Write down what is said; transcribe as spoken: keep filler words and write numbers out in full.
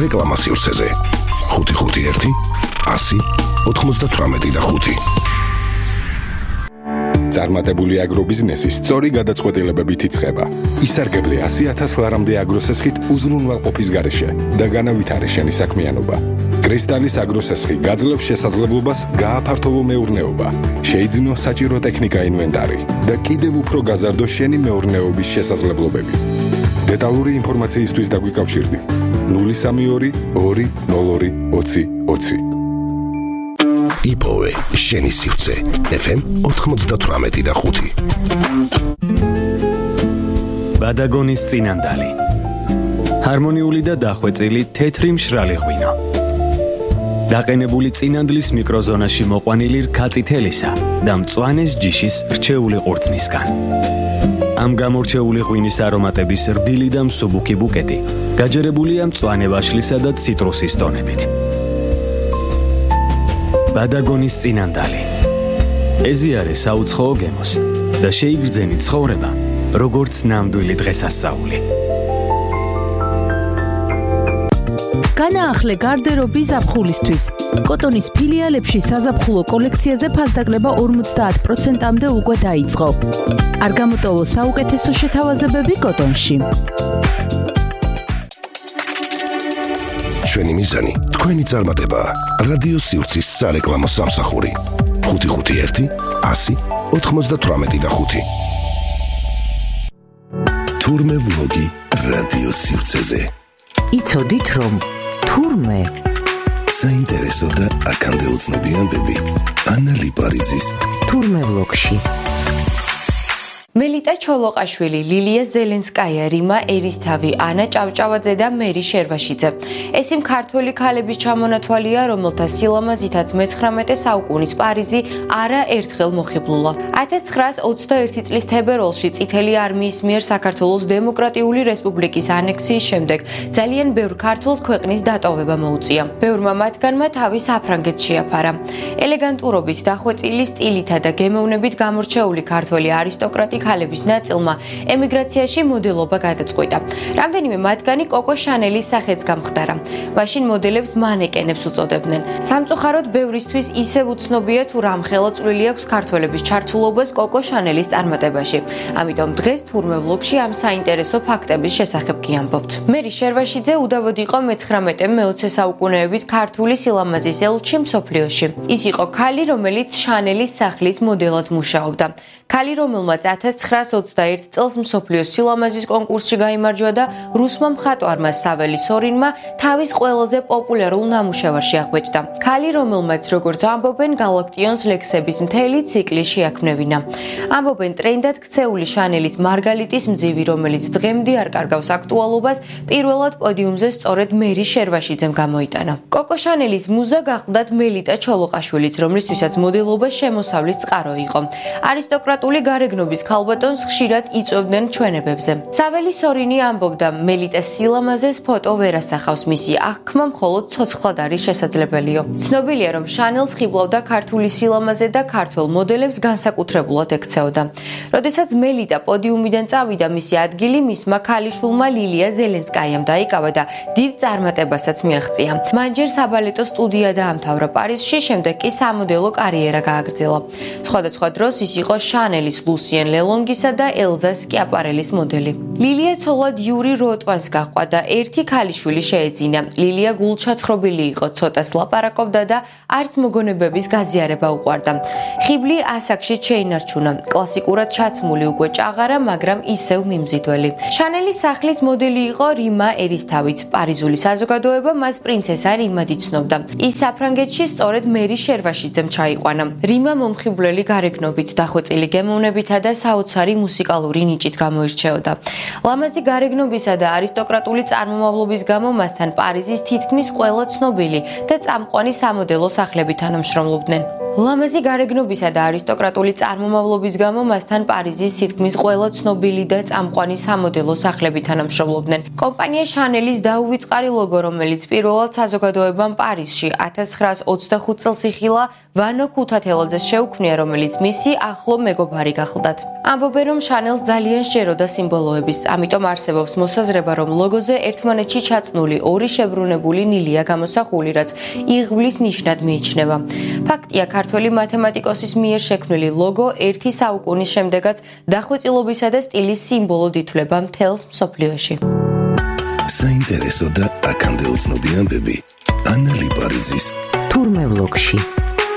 რეკლამა სივრცეზე. ხუთი ხუთი ერთი ასი ოთხმოცდათვრამეტი და ხუთი. წარმატებული აგრობიზნესის სწორი გადაწყვეტილებებით იწყება. ისარგებლე ასი ათას ლარამდე აგროსესხით უზრუნველყოფის გარეშე და განავითარე შენი საქმიანობა. კრისტალის აგროსესხი გაძლევს შესაძლებლობას გააფართოვო მეურნეობა, შეიძინო საჭირო ტექნიკა ინვენტარი და კიდევ უფრო გაზარდო შენი მეურნეობის შესაძლებლობები. დეტალური ინფორმაციისთვის დაგვიკავშირდი ნული სამი ორი ორი ნულ ორი ოცი ოცი. იპოვე შენი სივრცე ეფ ემ ოთხმოცდათვრამეტი და ხუთი. ბადაგონის წინანდალი. ჰარმონიული და დახვეწილი თეთრი მშრალი ღვინო. დაყენებული წინანდლის მიკროზონაში მოყვანილი რქაწითელისა და მწვანეს ჯიშის რჩეული ყურძნისგან. ამ გამორჩეული ღვინის არომატების რბილი და მსუბუქი ბუკეტი გაჯერებულია მწვანე ვაშლისა და ციტრუსის ტონებით. ბადაგონის წინანდალი. ეზიარე საუცხოო გემოს და შეიგრძენი ცხოვრება, როგორც ნამდვილი დღესასწაული. განაახლე გარდერობი ზაფხულისთვის. კოტონის ფილიალებში საზაფხულო კოლექციაზე ფასდაკლება ორმოცდაათ პროცენტამდე უკვე დაიწყო. არ გამოტოვო საუკეთესო შეთავაზებები კოტონში. ჩვენი მიზანი თქვენი წარმატებაა. რადიო სივრცის სარეკლამო სამსახური. ხუთი ხუთი ერთი ასი ოთხმოცდათვრამეტი და ხუთი. თურმე ვლოგი რადიო სივრცეზე. იცოდით რომ თურმე საინტერესო და აქამდე უცნობიანდები ანა ლიპარიძის თურმე ვლოგში. მელიტა ჩოლოყაშვილი, ლილია ზელენსკაია, რიმა ერისთავი, ანა ჭავჭავაძე და მერი შერვაშიძე. ეს იმ ქართველი ქალების ჩამონათვალია, რომელთა სილამაზითაც მეცხრამეტე საუკუნის პარიზი არა ერთხელ მოხიბლულა. ათას ცხრაას ოცდაერთი წლის თებერვალში წითელი არმიის მიერ საქართველოს დემოკრატიული რესპუბლიკის ანექსიის შემდეგ ძალიან ბევრ ქართველს ქვეყნის დატოვება მოუწია. ბევრმა მათგანმა თავი საფრანგეთში შეაფარა. ელეგანტურობით, დახვეწილი სტილითა და გემოვნებით გამორჩეული ქართველი არისტოკრატი ქალების ნაწილმა ემიგრაციაში მოდელობა გადაწყვიტა. რამდენიმე მათგანი კოკო შანელის სახეც გამხდარა. მაშინ მოდელებს მანეკენებს უწოდებდნენ. სამწუხაროდ ბევრისთვის ისევ უცნობია თუ რამხელა წვლილი აქვს ქართველების ჩართულობას კოკო შანელის წარმატებაში. ამიტომ დღეს თურმე ვლოგში ამ საინტერესო ფაქტების შესახებ გიამბობთ. მერი შერვაშიძე უდავოდ იყო მეცხრამეტე მეოცე საუკუნეების ქართული სილამაზის ელჩი მსოფლიოში. ის იყო ქალი, რომელიც შანელის სახლის მოდელად მუშაობდა. ქალი, რომელმაც ათას ცხრაას ოცდაერთი წელს მსოფლიოს სილამაზის კონკურსში გაიმარჯვა და რუსმა მხატვარმა საველი სორინმა თავის ყველაზე პოპულარულ ნამუშევარში აღბეჭდა. ქალი, რომელმაც როგორც ამბობენ, გალაქტიონს ლექსების მთელი ციკლი შეაქმნევინა. ამბობენ ტრენდად ქცეული შანელის მარგალიტის მძივი, რომელიც დღემდე არ კარგავს აქტუალობას, პირველად პოდიუმზე სწორედ მერი შერვაშიძემ გამოიტანა. კოკო შანელის მუზა გახლდათ მელიტა ჩოლოყაშვილიც, რომლისთვისაც მოდელობა შემოსავლის წყარო იყო. არისტოკრატული გარეგნობის ქალბატონს ხშირად იწვევდნენ ჩვენებებზე. საველი სორინი ამბობდა, მელიტას სილამაზეს ფოტო ვერ ასახავს, მისი აღქმა მხოლოდ ცოცხლად არის შესაძლებელიო. ცნობილია, რომ შანელს ხიბლავდა ქართული სილამაზე და ქართველ მოდელებს განსაკუთრებულად ექცეოდა. როდესაც მელიტა პოდიუმიდან წავიდა, მისი ადგილი მისმა ქალიშვილმა ლილია ზელენსკაიამ დაიკავა და დიდ წარმატებასაც მიაღწია. მან ჯერ საბალეტო სტუდია დაამთავრა პარიზში, შემდეგ კი სამოდელო კარიერა გააგრძელა. სხვადასხვა დროს ის იყო შანელის, ლუსიენ ლელონგისა და ელზა სკიაპარელის მოდელი. ლილია ცოლად იური როტვანს გაჰყვა და ერთი ქალიშვილი შეეძინა. ლილია გულჩათხრობილი იყო, ცოტას ლაპარაკობდა და არც მოგონებების გაზიარება უყვარდა. ხიბლი ასაკში შეინარჩუნა. კლასიკურად ჩაცმული უკვე ჭაღარა, მაგრამ ისევ მიმზიდველი. შანელის სახლის მოდელი იყო რიმა ერისთავიც. პარიზული საზოგადოება მას პრინცესა რიმად იცნობდა. ის საფრანგეთში სწორედ მერი შერვაშიძემ ჩაიყვანა. რიმა მომხიბვლელი გარეგნობით, დახვეწილი გემოვნებითა და საოცარი მუსიკალური ნიჭით გამოირჩეოდა. ლამაზი გარეგნობისა და არისტოკრატული წარმომავლობის გამო მასთან პარიზის თითქმის ყველა ცნობილი და წამყვანი სამოდელო სახლები თანამშრომლობდნენ. ლამაზი გარეგნობისა და არისტოკრატული წარმომავლობის გამო მასთან პარიზის თითქმის ყველა ცნობილი და წამყვანი სამოდელო სახლები თანამშრომლობდნენ. კომპანია შანელის დაუვიწყარი ლოგო, რომელიც პირველად საზოგადოებამ პარიზში ათას ცხრაას ოცდახუთ წელს იხილა, ვანო ქუთათელაძეს შეუქმნია, რომელიც მისი ახლო მეგობარი გახლდათ. ამბობენ, რომ შანელს ძალიან სჯეროდა სიმბოლოების, ამიტომ არსებობს მოსაზრება, რომ ლოგოზე ერთმანეთში ჩაწნული ორი შებრუნებული ნილია გამოსახული, რაც იღბლის ნიშნად მიიჩნევა. ფაქტია, ქართველი მათემატიკოსის მიერ შექმნილი ლოგო ერთი საუკუნის შემდეგაც დახვეწილობისა და სტილის სიმბოლოდ ითვლება მთელს მსოფლიოში. საინტერესო და აქამდე უცნობი ამბები ანა ლიპარიძის თურმე ვლოგში.